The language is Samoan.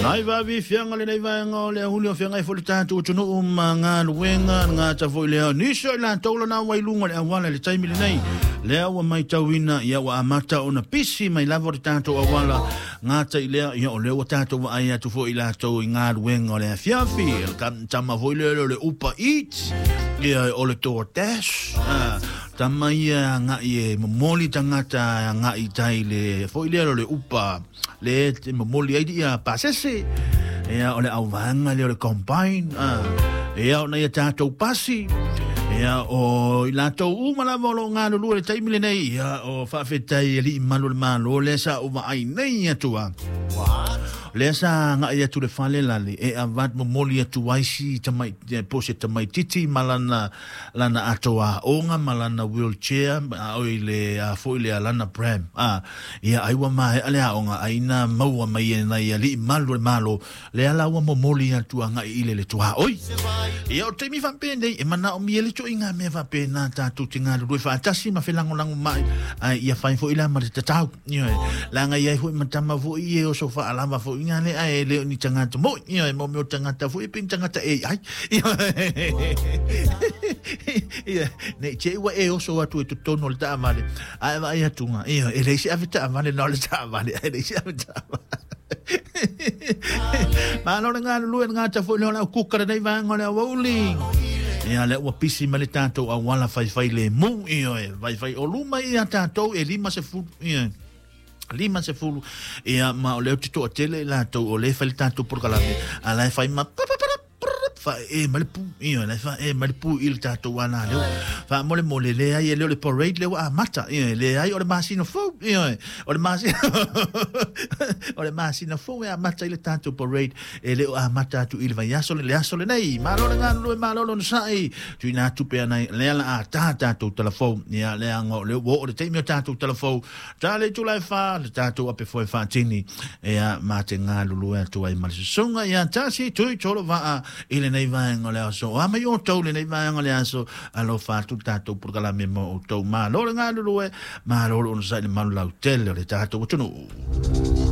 Nai vavi fianga le nei vaega o le ahuli o feagai foi le tatou atunuu ma galuega le gata foi lea nisi o i latou lana ua i luga o le auala i le taimi lenei lea ua matauina ia ua amata ona pisi mai lava o le tatou auala gata i lea ia o lea ua tatou vaai atu foi i latou i galuega o le afiafi le tama foi lea o le Uber Eats ia o le DoorDash tama ia agai e momoli tagata agai i tai le foi lea o le Uber le te momoli ai ia pasese ia o le auvaega lea o le combine ia ona ia tatou pasi ia o i latou uma lava o lo o galulue i le taimi lenei ia o faafetai i alii malu o le Malo lea sa ou vaai nei atu a lea sa agai atu le fale lale e avat momoli atu ai si tamai po se tamaititi ma lana lana ato aoga ma lana wheelchair a oi le a foi le lana pram a ia ai ua maea le aoga ai na maua mai e nai alii malu o le Malo lea la ua momoli atu agai i le le tuaoi. Ia o taimi faapenei e manaomia le ituaiga mea faapena tatou te galulue faatasi ma felagolago mai ai ia fai foi la ma le tatau. Ioe, leaga i ai foi ma tama foi e oso faalava foi ngā le ae le o ni tagata moi. Ioe, mo mea o tagata foi e pe ni tagata e ai. Ioe, nei te ua e oso atu e totonu o le taavale, ae vaai atu ngā, ioe, e leai se ave taavale na o le taavale, ae leai se ave taavale. Malo le galulue le gata foi lea o le au kuka lenei vaega o le aoauli. Ia lea ua pisi mai le tatou auala faifai lemu, ioe, faifai o luma ia tatou e 50, ioe. 50 ia ma o lea ou te toatele i latou o lea e fai le tatou polokalame a la e fai ma faee mai le pu ioe la e faee mai le pu i le tatou ala leo faamolemole leai e le o le parade lea ua amata ioe leai o le masina fou ioe o le masina o le masina fou e amata i le tatou parade e le o amata atu i le vaiaso le aso lenei. Malo le galulue, malo le onosai. Tuuina atu pea nai lea la a tā tatou talafou. Ia leaga o lea ua oo le taimi o tatou talafou. Tā le itula e whā, le tatou ape foe whaatini. Ia, mā te galulue atu ai ma le susuga ia Tasi Tui Tolo Vaa i lenei vaega o le aso. O a mai outou lenei vaega o le aso, alofa atu le tatou polokalame mo outou. Malo le galulue, malo le onosai i le malu lautele o le tatou atunuu.